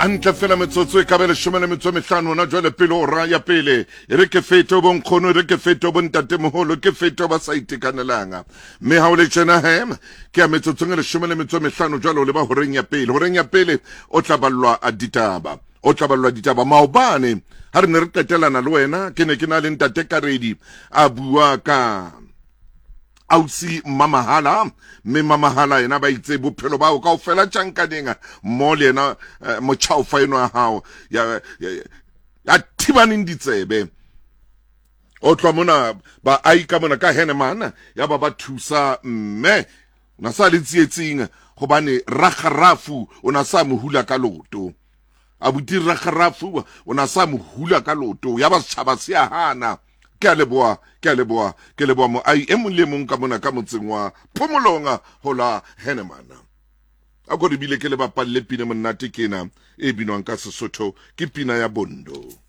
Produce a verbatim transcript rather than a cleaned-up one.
Antle fela metsotso e ka be leshome le metso e mehlano ona jwale pele ora ya pele. E re ke fete ho bonkgono, e re ke fete ho bontatemoholo, ke fete ho ba sa itekanelang. Mme ha o le tjena he, ke ya metsotsong e leshome le metso e mehlano jwale o leba horeng ya pele. Horeng ya pele o tla ballwa ditaba. O tla ballwa ditaba. Maobane ha re ne re qetelana le wena, ke ne ke na le ntate Karedi a bua ka ausi Mamahala, mme Mamahala yena ba itse bophelo bao kaofela tjhankaneng mmoho le yena eh, motjhaofa eno ya hao ya, ya, ya thibaneng ditsebe. O tloha mona baahi ka mona ka Henneman ya ba ba thusa mme o na sa le tsietsing hobane rakgarafu o na sa mo hula ka loto. Abuti rakgarafu o na sa mo hula ka loto, ya ba setjhaba se a hana. Ke a leboha, ke a leboha, ke leboha moahi e mong le mong ka mona ka motseng wa Phomolong ho la Henneman. A ko re bile ke le bapalle pina monate ke ena e binwang ka Sesotho, ke pina ya Bondo.